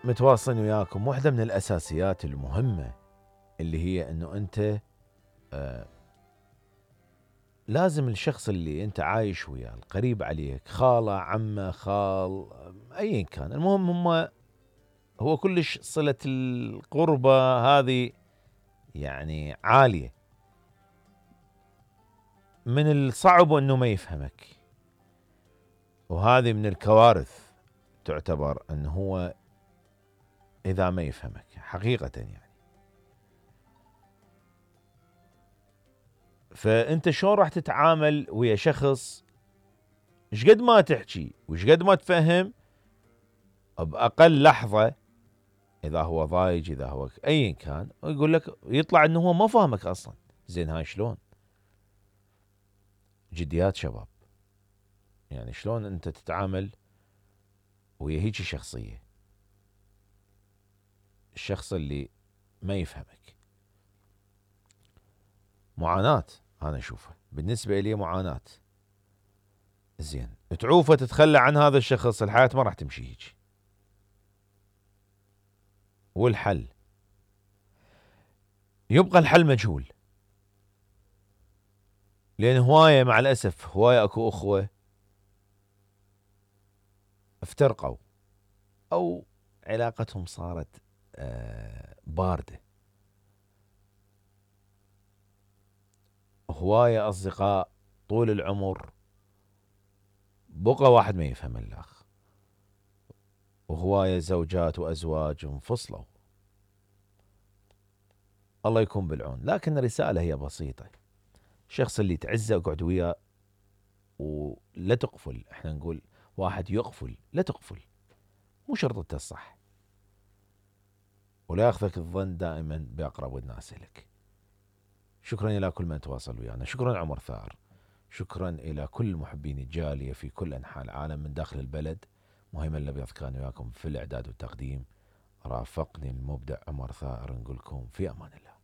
متواصلين وياكم. واحدة من الأساسيات المهمة اللي هي أنه أنت لازم الشخص اللي أنت عايش وياه القريب عليك، خالة، عمه، خال، أيا كان، المهم هو كلش صلة القربة هذه يعني عالية، من الصعب أنه ما يفهمك، وهذه من الكوارث تعتبر أنه هو إذا ما يفهمك حقيقة يعني. فأنت شلون راح تتعامل ويا شخص شقد ما تحكي وشقد ما تفهم بأقل لحظة، إذا هو ضايج، إذا هو أيا كان، ويقول لك يطلع أنه هو ما فاهمك أصلا. زين هاي شلون؟ جديات شباب، يعني شلون أنت تتعامل ويا هيجي شخصية، الشخص اللي ما يفهمك؟ معاناة، أنا أشوفها بالنسبة لي معاناة. زين تعوفه تتخلى عن هذا الشخص، الحياة ما راح تمشي هيك. والحل يبقى الحل مجهول، لأن هواية مع الأسف هواية أكو أخوة افترقوا أو علاقتهم صارت باردة، هواية أصدقاء طول العمر بقى واحد ما يفهم الآخر، وهواية زوجات وأزواج انفصلوا. الله يكون بالعون. لكن الرسالة هي بسيطة، الشخص اللي تعزه اقعد وياه ولا تقفل. احنا نقول واحد يقفل، لا تقفل، مو شرط الصح، ولا ياخذك الظن دائما بأقرب الناس لك. شكرا إلى كل من تواصل ويانا، شكرا عمر ثائر، شكرا إلى كل محبين الجالية في كل أنحاء العالم من داخل البلد. مهيمن الأبيض كان وياكم في الإعداد والتقديم، رافقني المبدع عمر ثائر. نقولكم في أمان الله.